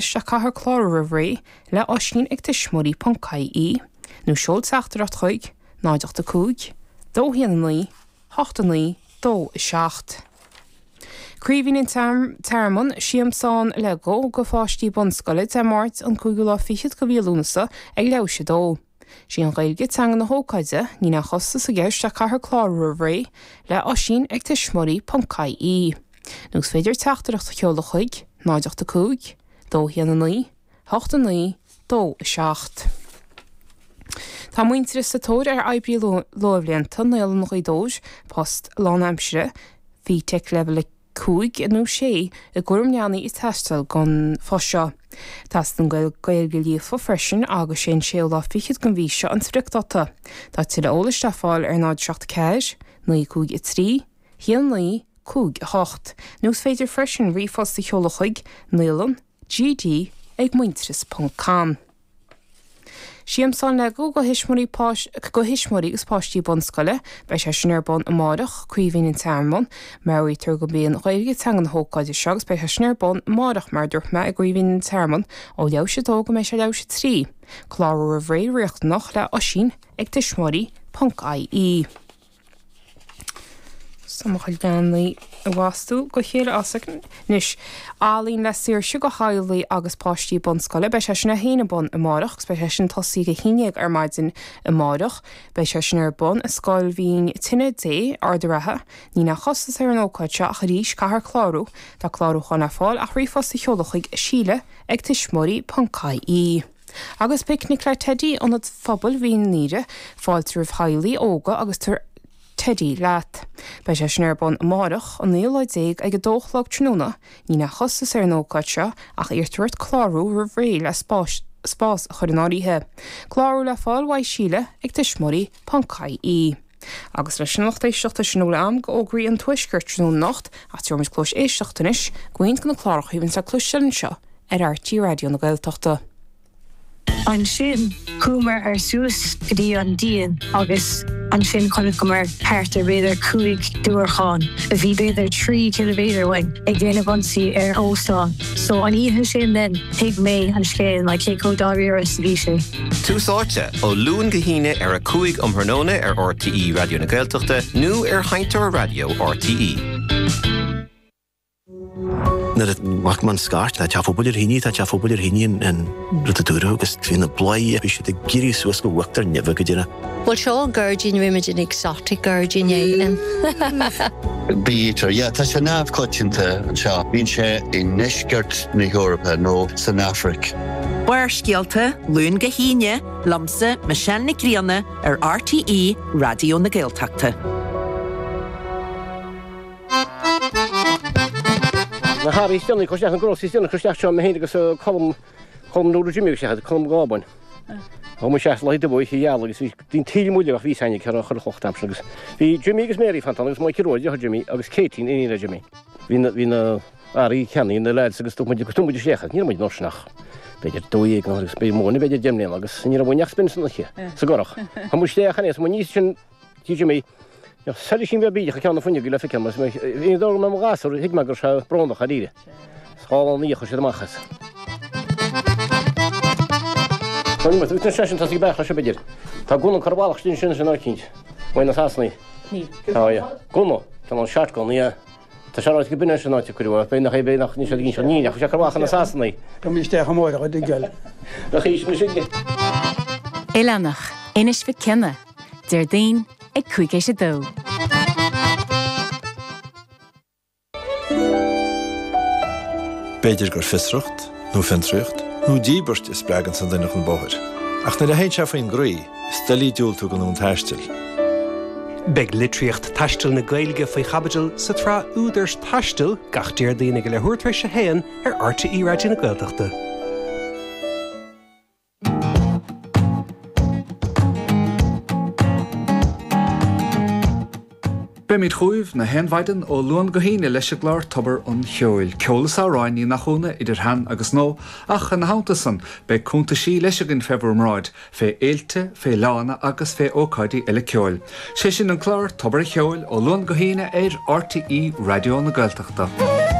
Ach caithfear clárú roimh ré le Oisín ag tuismitheoirí ponc ie nó seol teachtaireacht chuig 0 8 5 2 1 9 8 9 2 7. Craoibhín an Tearmann, Siamsán Lego go pháistí bunscoile, Dé Máirt an cúigiú lá fichead de mhí Lúnasa ag leathuair théis a dó. Sí an Ghaeilge teanga na hócáide, níl aon chostas i gceist ach caithfear clárú roimh ré le Oisín ag tuismitheoirí ponc ie. Nó is féidir teachtaireacht a sheoladh chuig, 0 8 5, 2 1 9, 8 9, 2 7. Tá Muintearas sa tóir ar oibrí luathbhlianta, Naíolann Ghaoth Dobhair, post lánaimsire, FETAC Level 5 nó 6 i gcúram leanaí ag teastáil don phost seo. Teastaíonn Gaeilge líofa freisin agus sé an séú lá fichead den mhí seo an spriocdáta. Tá tuilleadh eolais le fáil ar 0 7 4 9 5 3 1 9 5 8 nó is féidir freisin ríomhphost a sheoladh chuig naíolann gd ag muintearas ponc com. Siamsán Lego do thuismitheoirí do thuismitheoirí agus páistí bunscoile, beidh sé sin ar bun amárach, Craoibhín an Tearmann. Meabhraítear gurb í an Ghaeilge teanga na hócáide seo agus beidh sé sin ar bun amárach mar a dúirt mé i gCraoibhín an Tearmann ó leathuair théis a dó go mbeidh sé leathuair théis a 3. Clárú roimh ré riachtanach le Oisín ag tuismitheoirí ponc ie. Tá mo chuid leanaí ag bhastú go chéile as anois. Ealaín le Saoirse go theaghlaigh agus páistí bunscoile. Beidh sé sin é féin ar bun amárach agus beidh sé sin tosaí ag 11 ar maidin amárach. Beidh sé sin ar bun i Scoil Mhín Tine Dé, Ard an Rátha. Níl aon chostas ar an ócáid seo ach arís caithfear clárú. Tá clárúchán le fáil ach ríomhphost a sheoladh chuig síle ag tuismitheoirí ponc ie. Agus Picnic le Teidí, Ionad Phobail Mhín Doire, fáilte roimh theaghlaigh óga agus tabhair Teidí leat. Beidh sé sin ar bun amárach, an naoú lá déag ag a dó a chlog tráthnóna. Níl aon chostas ar an ócáid seo ach iarrtar ort clárú roimh ré le spás spás a chur in áirithe. Clárú le fáil uaidh Síle ag tuismitheoirí ponc ie. Agus leis sin a lucht éisteachta sin a bhfuil agam d'fhógraí an Tuaiscirt tráthnóna anocht ach tabharfaimid cluas éisteachta anois go roinnt de na cláracha a bhíonns le cloisteáil anseo ar RTÉ Raidió na Gaeltachta. Ansin chuamar ar suas go dtí an díon agus ansin chonaiceamar thart ar b'fhéidir 5 diúracán a bhí b'fhéidir 3 ciliméadar uainn ag déanamh ionsaí ar óstán. So an oíche sin then thuig mé an scéal like cé chomh dáiríre is a bhí sé. Tús Áite, ó Luan go hAoine ar 5 um thráthnóna ar RTÉ Raidió na Gaeltachta nó ar Sheinnteoir Raidió RTÉ. Nuair a bhfaca mé an scairt, tá teach phobail ar thine, tá teach phobail ar thine an rud a dúradh agus bhí na bladhairí, bhí siad ag éirí suas go huachtar neimhe go deireadh. Bhuel seo an gairdín, rímid an exotic gairdín é. Bee-eater, yeah, tá sé neamhchoitianta anseo. Bíonn sé i ndeisceart na hEorpa nó san Afraic. Barrscéalta, Luan go hAoine, liomsa, Michelle Nic Grianna, ar RTÉ Raidió na Gaeltachta. Na hearraí is déanaí cur isteach, na groceries is déanaí cur isteach seo, mé féin agus Colm, Colm Nuala Jimmy agus isteach, Colm Gábáin. Chuaigh muid isteach lá dubh oíche gheal agus bhí an taoille muile ach bhí fhios againn cé raibh chuile chloch d'aimsir agus bhí Jimmy agus Mary fanta ann agus Mikey Rua, deartháir Jimmy, agus Katie, iníon le Jimmy. Bhí na, bhí na earraí ceannaithe na lads agus thug muid, thug muid isteach, ní raibh muid an uair sin ach b'fhéidir 12 nó agus b'fhéidir mó, b'fhéidir 10 mbliana agus ní raibh uainn ach spin san oíche, sa gcurach. Chuaigh muid isteach ann is muid níos sin Tí Jimmy, Bheadh soilisín beag bídeach ag ceann na fuinneoige le feiceáil mar is mé ag dul go mbeadh mo ghasúr, thuig mé go raibh sé brónach dáiríre. Is dhá lá ina dhiaidh chuir siad amach as. Tá an imeacht ansin tá sí ag beach leis b'fhéidir. Tá gunna curtha i bhfalach istigh ansin sin eicínt. Uaidh na Sasanaigh. Tá, yeah. Gunna, ceann shotgun, yeah. Tá sé ráite go b'in é sin an áit a cuireadh é, b'fhéidir nach é, b'fhéidir nach, níl sé ag inseacht, ní, ach bhí sé curtha amach ag na Sasanaigh. Tá mé isteach amárach a dtuigeáil. Nach í sin sin. Oileánach, Inis Mhic Cionnaith, Déardaoin ag 2:05. B'fhéidir gur fiosracht, nó fiontraíocht, nó díbirt a spreaganns an duine chun bóthair. Ach nuair a théann sé faoin gcroí, is doiligh diúltú don fhonn taistil. Beidh litríocht taistil na Gaeilge faoi chaibidil sa tsraith Údair Taistil gach Déardaoin ag a leathuair tar éis a haon ar RTÉ Raidió na Gaeltachta. Beimid chugaibh na haon mhaidin ó Luan go hAoine leis an gclár Tobar an Cheoil. Ceol is amhráin, ní nach ionadh, idir shean agus nua, ach ina theannta san, beidh cuntaisí leis againn fé bhur mbráid, fé fhéilte, fé fhleánna agus fé ócáidí eile ceoil. Sé sin an clár Tobar an Cheoil ó Luan go hAoine ar RTÉ Raidió na Gaeltachta.